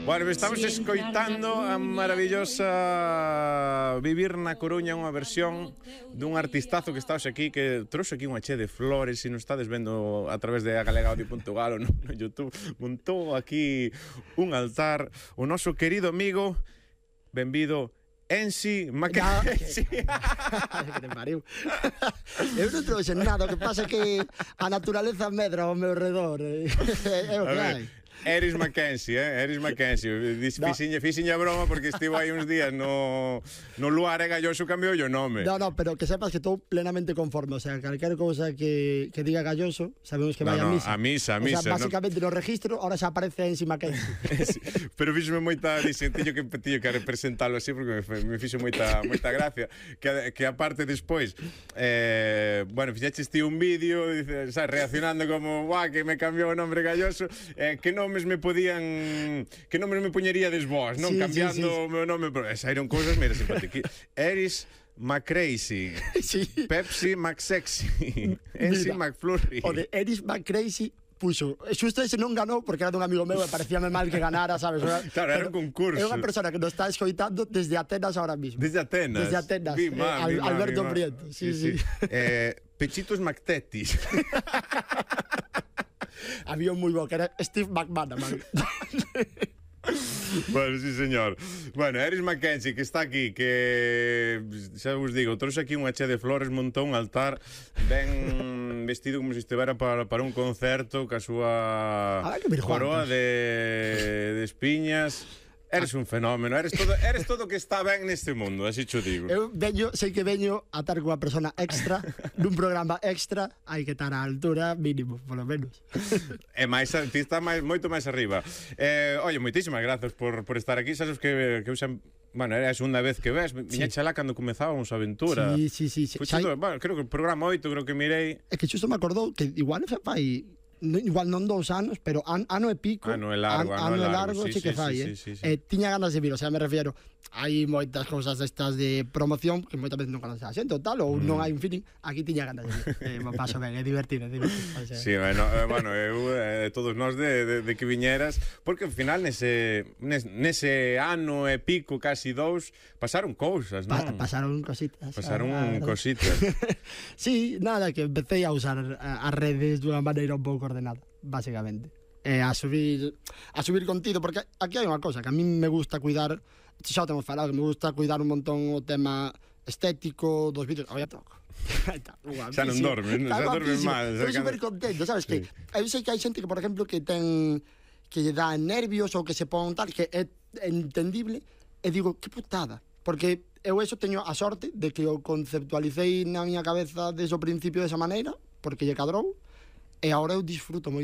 Bueno, estamos escoitando a maravillosa Vivir na Coruña, unha versión dun artistazo que está hoxe aquí, que trouxe aquí unha che de flores, se non estades vendo a través de agalegaudio.gal ou no YouTube, montou aquí un altar o noso querido amigo, benvido, Ensi Mackenzie. Que te pariu. Eu non trouxe nada, o que pasa é que a naturaleza medra ao meu redor. É o que hai. Eris Mackenzie, Eris Mackenzie. Fixinha broma porque estivo aí uns días no lugar e Galloso cambiou o nome. No, pero que sepas que estou plenamente conforme. O sea, calquera cousa que diga Galloso, sabemos que vai a misa. A misa. O sea, básicamente no registro, ahora xa aparece Ensi Mackenzie. Pero fíxome moita, tiño que representalo así porque me fixo moita gracia. Que aparte despois, bueno, fixeches ti un vídeo, reaccionando como, guau, que me cambiou o nombre Galloso, que nomes me poñeríades vós, non? Sí, cambiando sí. o meu nome, pero saíron cousas, mira, simpáticas. Eris McCrazy, Sí. Pepsi McSexy, Ensi McFlurry. O de Eris McCrazy puxo. Xusto ese non ganou porque era dun amigo meu e parecíame mal que ganara, sabes? Claro, era un concurso. É unha persona que nos está escoitando desde Atenas ahora mismo. Desde Atenas. Alberto Prieto. Sí. Pechitos McTetis. Había un moi bo que era Steve McManaman. Bueno, sí, señor. Bueno, Eris Mackenzie, que está aquí, que xa vos digo, trouxe aquí unha che de flores, montou un altar ben vestido como se estivera para un concerto, ca súa coroa de espiñas. Eres un fenómeno, eres todo que está ben neste mundo, así cho digo. Eu sei que veño a estar unha persona extra nun programa extra, hai que estar á altura mínimo, polo menos. E máis, ti está moito máis arriba. Oye, moitísimas grazas por estar aquí, sabes que eu xa... Bueno, era a segunda vez que ves, viñeche alá cando comezábamos a aventura. Sí. Bueno, creo que o programa 8, creo que mirei. É que xusto me acordou que igual fai... igual non 2 anos, pero ano e pico. Ano é largo, sí que fai, sí. Tiña ganas de vir, o sea, me refiero, hai moitas cousas destas de promoción que moitas veces non conoce a xente ou tal, ou non hai un feeling. Aquí tiña ganas de vir, me paso ben, é divertido. O sea. Sí, bueno, eu todos nós de que viñeras, porque ao final nese ano e pico, casi 2, pasaron cousas, non? Pasaron cositas. Cositas. Sí, nada, que empecé a usar as redes dunha maneira un pouco ordenada, básicamente. A subir contido, porque aquí hai unha cosa que a mí me gusta cuidar, xa o temos falado, que me gusta cuidar un montón o tema estético dos vídeos. Oye, toco. Xa non dormes, xa dormes mal. Estou super contento, sabes que eu sei que hai xente que, por exemplo, que lle dá nervios ou que se pon tal, que é entendible, e digo, que putada, porque eu eso teño a sorte de que o conceptualicei na miña cabeza desde o principio desa maneira, porque lle cadrou, e agora eu disfruto moi